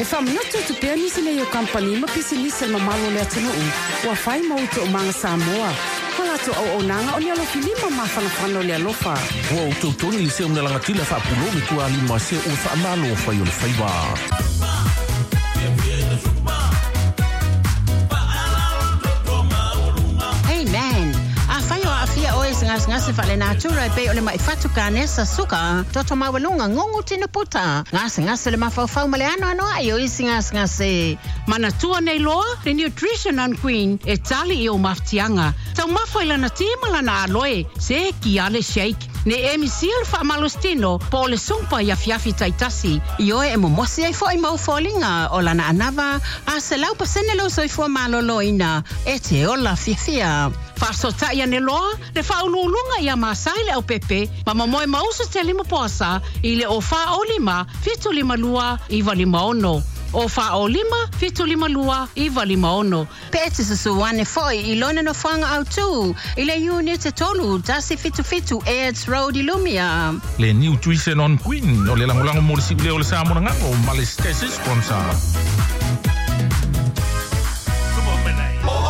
E faamanatu atu pea nisi nei o kamupani ma pisinisi a le mamalu o le atunuu ua fai ma ou toomaga Samoa, ma latou auaunaga o ni alofilima mafanafana o le alofa. Ua ou tolitoli i se una lagatila faapulou le tualima se ua faamalo fai o le faiva. Hey man, afai o aafia oe i se gasegase faalenatura e pei o le ma'i fatu, kanesa, suka, toto maualuga, gugu tino puta, gasegase o le mafaufau ma le anoanoai o isi gasegase. Manatua nei loa le Nutrition on Queen e tali i ou mafatiaga. Taumafa i lana ti ma lana aloe, se ki ale shake. Ne emi sia le faamalositino po o le sumpa i afiafi taitasi. Ioe e momosi ai foi ma ou foliga o lana anava a 100% lou soifua malōlōina e te ola fiafia. Faafesootai ane loa le Faauluuluga ia Masai Leaupepe ma momoe ma usu tele ma poasa i le 0 4 0 5 7 5 2 9 5 6. 0 4 0 5 7 5 2 9 5 6. Pe e te susu ane foi i lona nofoaga autū i le Iunite 3 177 Airds Road i Lumia. Le Nutrition on Queen o le lagolago mo le siuleo o le Samoa Gagalo ma le station sponsor.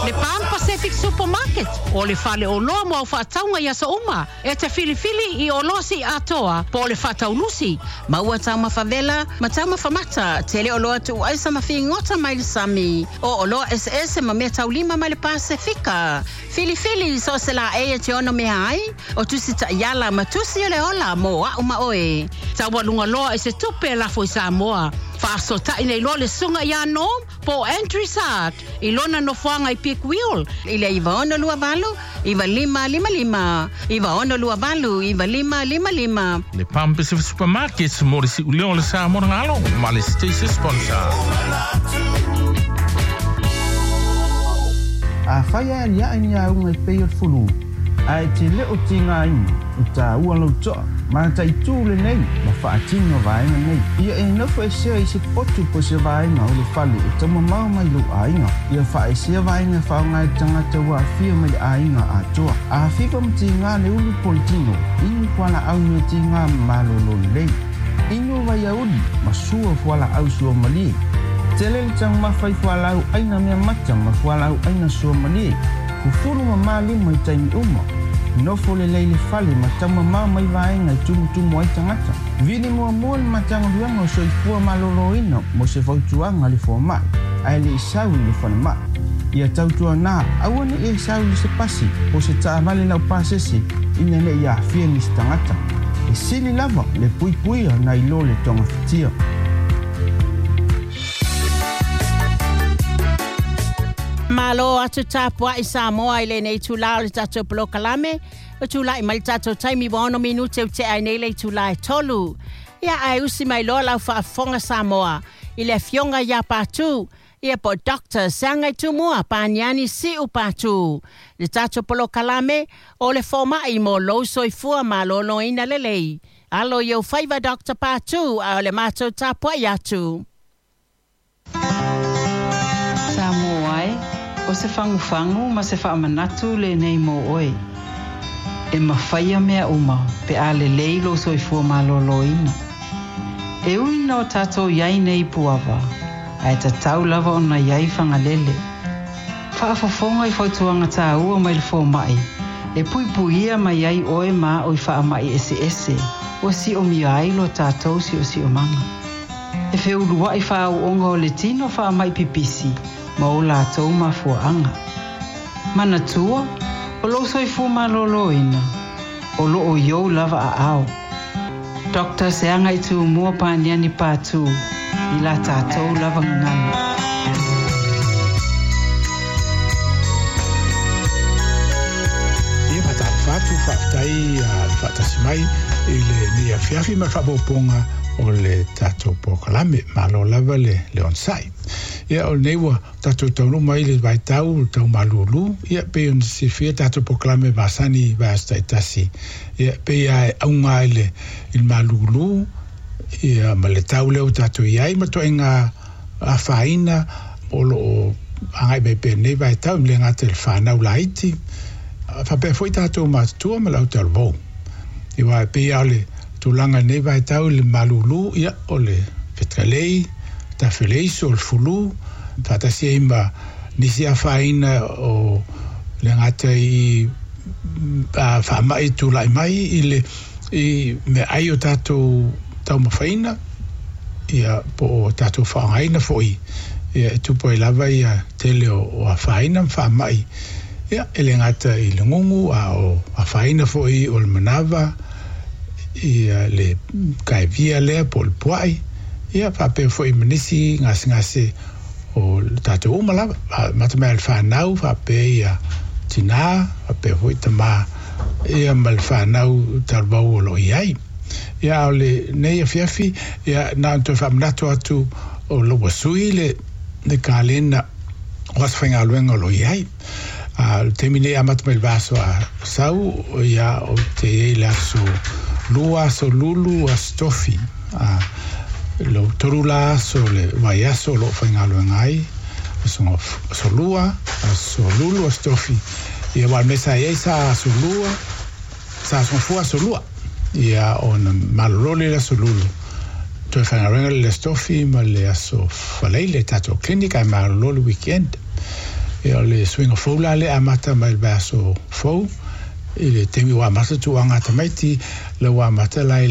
Le Pan Pacific Supermarket o le faleoloa mo au faatauga i aso uma e te filifili i oloa siiatoa po o le faataulusi. Maua taumafa vela ma taumafa mata, tele oloa tuuaisa ma figota mai le sami, o oloa eseese ma meataulima mai le Pasefika. Filifili so o se laei e te ono mea ai, o tusi taiala ma tusi o le ola mo au ma oe. Taualuga loa i se tupe e lafo i Samoa. Faafesootai nei loa le susuga ia Norm po o Andrew Sart i lona nofoaga i Peak Wheel. I le 9628 9555, 9628 9555. Le Palm Pacific Supermarket mo le siuleo o le Samoa Gagalo ma le station sponsor. Afai e aliae ni auga e pei o le fulu, ae e te le o tigaina, e taua lou toa, mataitū lenei ma faatino vaega nei. Ia e nofo esea i se potu po o se vaega o le fale e taumamao mai lou aiga. Ia faaesea vaega e faaaoga e tagata ua aafia mai le aiga atoa. A fiva ma tiga le ulu po o le tino, inu fualaau meatiga ma malōlō lelei. Inu vaiauli ma sua fualaau suamalie. Tele le taumafa i fualaau aina mea mata ma fualaau aina suamalie. Fufulu mamā lima i taimi uma. Nofo lelei i le fale ma taumamao mai vaega e tumutumu ai tagata. Vili muamua le Matagaluega o Soifua Malōlōina mo se fautuaga a le fomai, ae le i sau i le falemai. Ia tautuanā, aua ne i e sau i se pasi po o se taavale laupasese ina ne i aafia nisi tagata. E sili lava le puipuia nai lo le togafitia. Malo atu tapuai Samoa i lenei itulā o le tatou polokalame. Ua tulai mai le tatou taimi ua 6 minute ua tea ai nei le itulā e 3. Ia ae usi mai loa lau faafofoga Samoa i le afioga ia Patu, ia po o Doctor Seagaitumua Paniani Siu Patu. Le tatou polokalame o le fomai mo lou soifua malōlōina lelei. Alo i ou faiva Dr. Patu, a o le matou tapuai atu. Samoa e, o se fagufagu ma se faamanatu lenei mo oe. E mafaia mea uma pe a lelei lou soifua malōlōina. E ui ina o tatou i ai nei i Puava, ae tatau lava ona i ai Fagalele. Faafofoga i fautuaga tāua mai le fomai, e puipuia mai ai oe ma a'u i faamai eseese ua siomia ai lo tatou siosiomaga. E feulua'i faaauoga o le tino faamai pipisi ma o latou mafuaaga. Manatua, o lou soifua malōlōina, o loo i ou lava aao. Dr. Seagaitumua Paniani Patu i la tatou lava gagana. Ia faatalofa atu, faafetai le faatasi mai i lenei afiafi ma le faaopoopoga o le tatou polokalame. Malo lava le onosai. Ia o lenei ua tatou taunuu mai le vaitau o le tau malūlū, ia pei ona silafia tatou polokalame masani i vaiaso taitasi. Ia pei lava e auga i le i le malūlū ia ma le tau lea ua tatou i ai ma ituaiga afaina o lo o agai mai pea i lenei vaitau, e le gata i le fanau laiti, faapea foi tatou matutua ma le autalavou. Ia aua e pei lava o le tulaga i lenei vaitau i le malūlū, ia o le fetalei, tafeleiso o le fulu faatasi ai ma nisi afaina o le gata i faama'i tula'i mai i le i meaai o tatou taumafaina ia po o tatou faaaogaina fo'i ia e tupu ai lava ia tele o afaina ma faama'i ia e le gata i le gugu a o afaina fo'i o le manava ia le kaevia lea po o le pua'i ia faapea fo'i ma nisi gasegase o le tatou uma lava amata mai le fanau faapea ia tinā faapea foi tamā ia ma le fanau taluvau o loo i ai. Ia a o lenei afiafi ia na ona toe faamanatu atu o lo ua sui le kalena o aso faigaluega o loo i ai. A o le taimi nei amata mai le vaiaso a sau ia o te i ai le aso lua, aso lulu, aso tofi. A lo tolu la aso le vaiaso o loo faigaluega ai aso lua, aso lulu, aso tofi. Ia ua o le mea sa i ai sa aso lua, sa aso gafua aso lua. Ia ona malolo lea i le aso lulu. Toe faigaluega le aso tofi ma le aso faleile tatou clinic ae malolo le weekend. Ia o le suiga fou la lea amata mai le vaiaso fou i le taimi ua amata tauaga a tamaiti la ua amata la i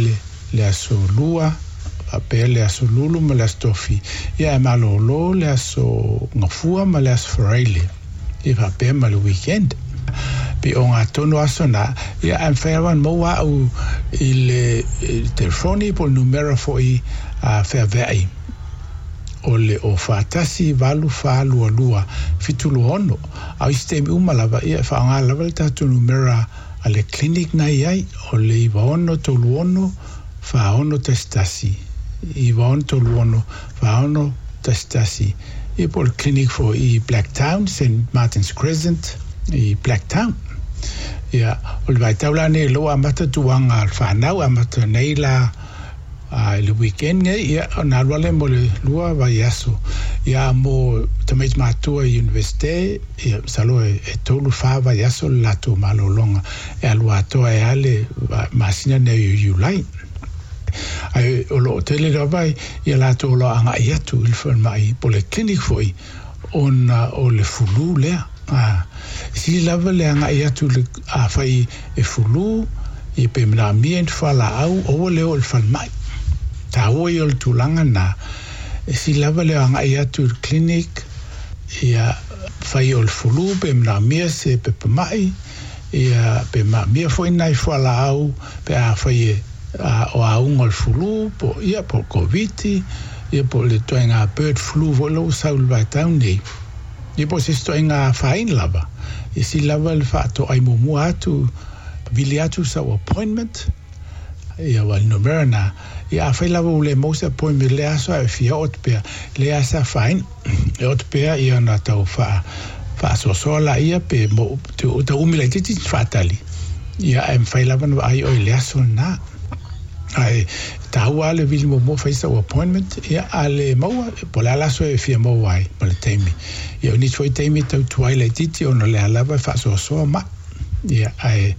le aso lua faapea le aso lulu ma le aso tofi ia ae malolo le aso gafua ma le aso faraile ia faapea ma le weekend. Pe o ngā tonu aso nā, ia ae mafai lava ona maua au i le telefoni po o le numera fo'i a feaveai o le o 4 1 8 4 2 2 7 2 6. A o isi taimi uma lava, ia e faaaoga lava le tatou numera a le clinic na i ai o le 96 36 46 1 96 36 46 11. Ia po o le clinic foi i Blacktown, St Martin's Crescent i Blacktown. Ia o le vaitau la nei o lea ua amata tauaga a le fanau amata nei la a i le weekend nei ia ona alu lea mo le 2 vaiaso. Ia mo tamaiti matua i universite ia masalo e 3 4 vaiaso le latou malologa e alu atoa ai lava le masina nei o Iulai. Ae o loo tele lava ia latou o loo agai atu i le falemai po o le clinic foi ona o le fulu lea. A e sili lava le agai atu le afai e fulu ia pe manaomia ni fualaau aua le oo i le falemai. Taua ia o le tulaga na e sili lava le agai atu i le clinic ia fai o le fulu pe manaomia se pepa mai ia pe manaomia foi nai fualaau pe afai e o auga o le fulu po ia po o le Koviti ia po o le ituaiga bird flu foi lea ua sau i le vaitau nei ia po o se isi ituaiga afaina lava. Ia sili lava le faatoai muamua atu vili atu sau appointment ia ua le numera na ia afai lava ua le maua se appointment i lea aso ae fia oo atu pea lea lava se afaina e oo atu pea ia ona tau faa faasoasoa laia pe mo tau umi laitiiti faatali ia ae mafai lava ona vaai oe i le aso lena. Ae taua lava le vili muamua fai sau appointment ia a le maua po o le a le aso e fia maua ai ma le taimi. Ia o nisi foi taimi e tau tuai laitiiti ona o lea lava e faasoasoa mai. Ia ae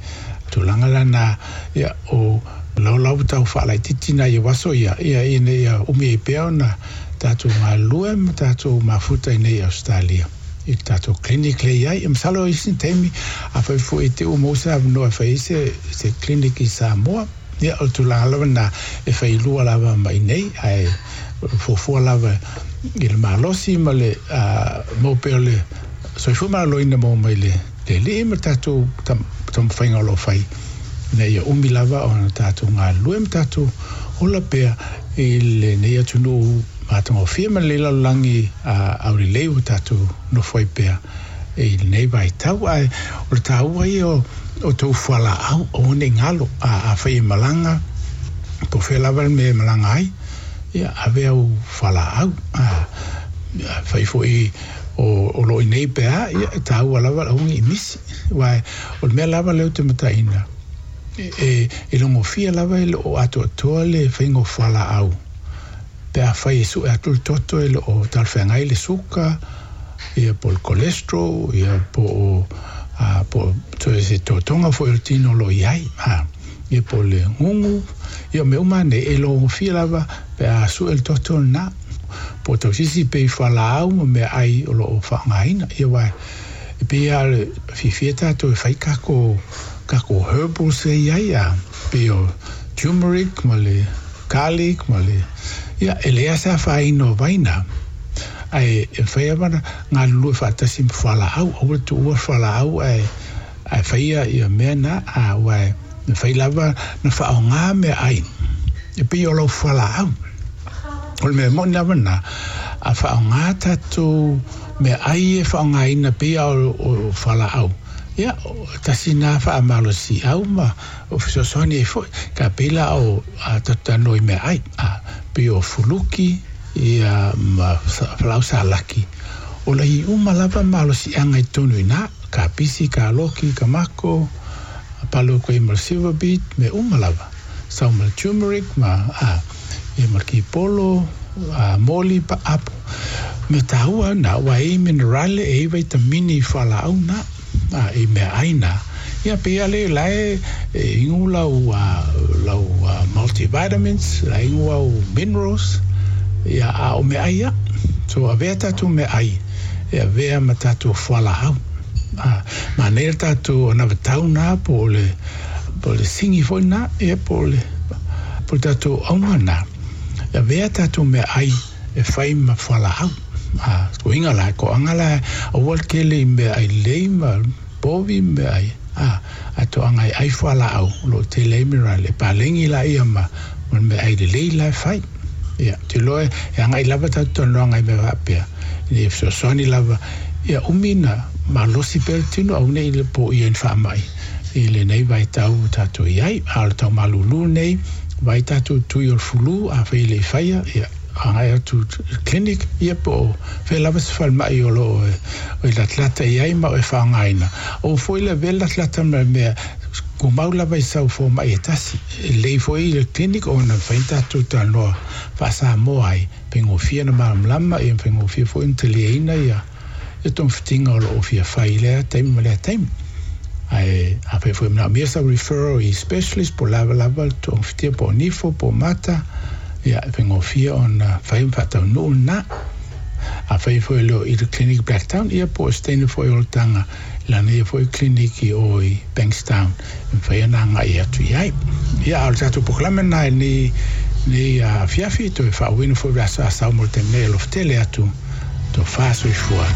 tulaga la na ia o laulau tau faalaitiiti nai o aso ia ia ina ia umi ai pea ona tatou galulue ma tatou mafuta i nei Ausetalia i le tatou clinic lea i ai. E masalo o isi taimi afai foi te i ua maua se avanoa e fai ai se clinic i Samoa ia o le tulaga lava lena e fai lua lava ma i nei ae fuafua lava i le malosi ma le maua pea o le soifua maloloina maua mai le Alii ma le tatou taumafaiga o lo o fai ina ia umi lava ona tatou galulue ma tatou ola pea i lenei atunuu matagofie ma lenei lalolagi aulelei ua tatou nofo ai pea i lenei vaitau. Ae o le taua ia o tou fualaau aua ne i galo afai e malaga po o fea lava le mea e malaga ai ia ave au fualaau. Afai foi o loo i inei pe a ia e taua lava le aua ne i misi aua o le mea lava lea ou te mataina e logofia lava e loo atoatoa le faiga o fualaau pe afai e sue atu le toto e loo talafeagai le suka ia po o le cholesterol ia po o po o se totoga foi o le tino o loo i ai ia po o le gugu ia o mea uma nei e logofia lava pe a sue le toto lena. po o tausisi pe i fualaau ma meaai o loo faaaogaina. Ia aua e pei lava o le fiafia tatou e fai kako kako herbals e i ai a pei o turmeric ma le garlic ma le ia e leai lava se afaina o vaina ae e mafai lava ona galulue faatasi ma fualaau aua le tuua le fualaau ae ae faia ia mea na a aua e mafai lava ona faaaoga meaai e pei o lau fualaau. O le mea moni lava lena, a faaaoga tatou meaai e faaaogaina pei lava o fualaau, ia, tasi lena faamalosiau ma fesoasoani ai foi. Ka pei la o a tatou talanoa i meaai, a pei o fuluki ia ma falaau salaki, o la i uma lava malosiaga i totonu i ina, kapisi, kaloki, kamako, palo koe ma le silver beet, mea uma lava. Sau ma le turmeric ma a ia ma le kipolo a moli pa apo. Mea taua na ua e i minerale e i vaitamini i fualaau na a i meaai na. Ia pei a le la e ingu lau a lau multivitamins la ingu au minerals ia a o meaai ia. So avea tatou meaai e avea ma tatou fualaau. A manaia le tatou anavatau na po o le po o le sigi foi lena, ia po o le, po o le tatou auga lena, e avea tatou meaai e fai ma fualaau. A, uiga la, toaga la, aua le tele i meaai lelei ma povi ma meaai, a, ae toaga e ai fualaau o lo o tele ai minerale, e paleni laia ma, ma le meaai lelei la e fai. Ia, ou te iloa e agai lava tatou talanoaga i mea faapea, ina ia fesoasoani lava, ia umi na malosi pea le tino, aua ne i poia i ni faamai i lenei vaitau ua tatou i ai. A o le tau malūlū nei, vaai tatou tui o le fulu, afai e le i faia, ia, agai atu i le clinic, ia po o fea lava se falemai o lo o e latalata i ai ma o e faaaogaina. Aua foi le avea le latalata ma le mea tumau lava i sau fomai e tasi. E lelei foi i le clinic ona mafai ona tatou talanoa faa-Samoa ai, faigofie ona malamalama, ia faigofie foi ona taliaina ia togafitiga o lo o fia fai i lea taimi ma lea taimi. Ae afai foi e manaomia sau referral i specialist po o lava lava le togafitia po o nifo po o mata, ia e faigofie ona fai ma faataunuu lena. Afai foi e le o i le clinic i Blacktown, ia po o se teine foi o olataga i lana ia foi clinic i o i Bankstown e mafai ona agai atu i ai. Ia, a o le tatou polokalame lena i lenei, lenei afiafi, toe faauuina foi le aso Asau mo le taimi nei, alofa tele atu, tofa soifua.